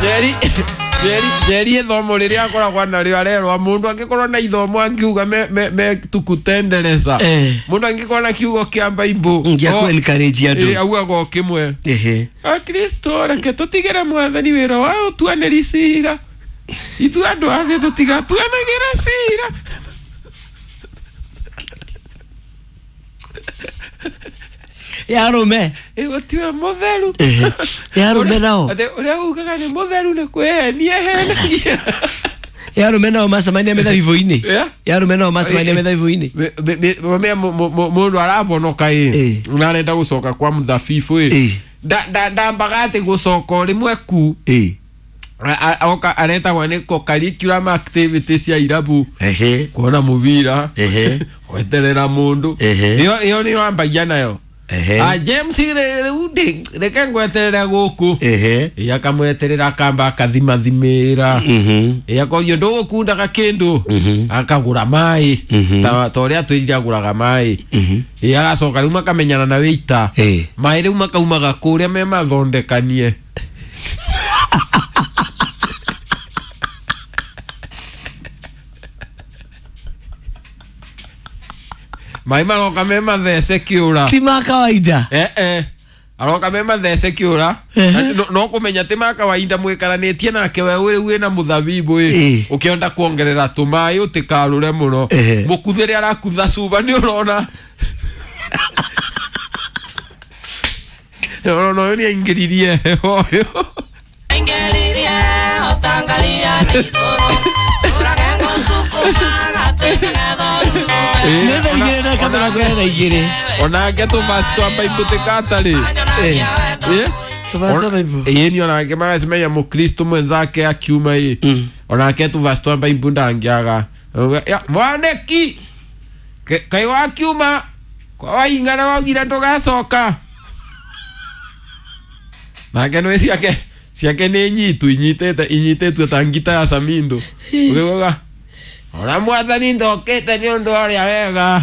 Njeri Njeri Njeri ithomo riria akoragwo narĩo arerwo mũndũ angĩkorwo na ithomo angiuga me tukutendereza mũndũ angĩkorwo na kiugo kĩa Bible Gĩa kũ encourage andũ. Augaga o kĩmwe. Ehe. Akristo reke tũtigĩre mwathani wĩra wa ũtuanĩri cira, ithuĩ andũ a thĩ tũtigatuanagĩra cira. Ya arũme. Ĩgũtiwe mũtheru. Ehe. Ya arũme nao. Atĩ ũrĩa ugaga nĩ mũtheru nĩ kwĩhenia ehenagia. Ya arũme nao macemania mĩthabibũ-inĩ. Yeah. Ya arũme nao macemania mĩthabibũ-inĩ. Mũndũ arabonoka ĩ Eh. na arenda gũcoka kwa mũthabibũ ĩ Eh. ndambaga atĩ gũcoka o rĩmwe ku Eh. Oka aretagwo nĩ co-curriculum activities cia irabu. Ehe. Kuona mũbira. Ehe. Gweterera mũndũ. Ehe. Ĩyo nĩyo ambagia nayo. Ehe. Ah, James rĩu ndĩ reke ngweterere gũkũ. Ehe. Ĩ akamweterera akamba akathimathimĩra. Ĩ akorio ndũgũkundaga kĩndũ. Akagũra maĩ ta ũrĩa twĩrire agũraga maĩ. Ĩ agacoka rĩu makamenyana na wĩita. Eh. Maĩ rĩu makaumaga kũrĩa me mathondekanie. Maĩ maroka me mathece kĩũra. Ti ma kawaida. Eh, aroka me mathece kĩũra. Ehe. No kũmenya ti ma kawaida mwĩkaranĩtie nake we rĩu wĩna mũthabibũ ĩ Eh. ũkĩenda kuongerera tũmaĩ ũtĩkarũre mũno. Ehe. Mũkuthĩre arakutha cuba nĩ ũrona ũrona ũyũ nĩ aingĩririe heho ũyũ. Nĩ thaa igĩrĩ na kamera kwĩna thaa igĩrĩ. Onake tũbasi twa Bible tĩkatarĩ. Eh. Eh? Tũbasi twa Bible. Ĩĩ ni onake magacemania mũkristo mwenzake akiuma ĩ onake tũbasi twa Bible ndangĩaga. Ya, mwaneki kaĩ wakiuma kwa waingana waugire ndũgacoka nake nĩ ciake ciake nĩ nyitu inyitĩte inyitĩtue ta ngita ya Samindo ũkĩugaga ona mwathani ndokĩte nĩ ũndũ wa ũrĩa wega.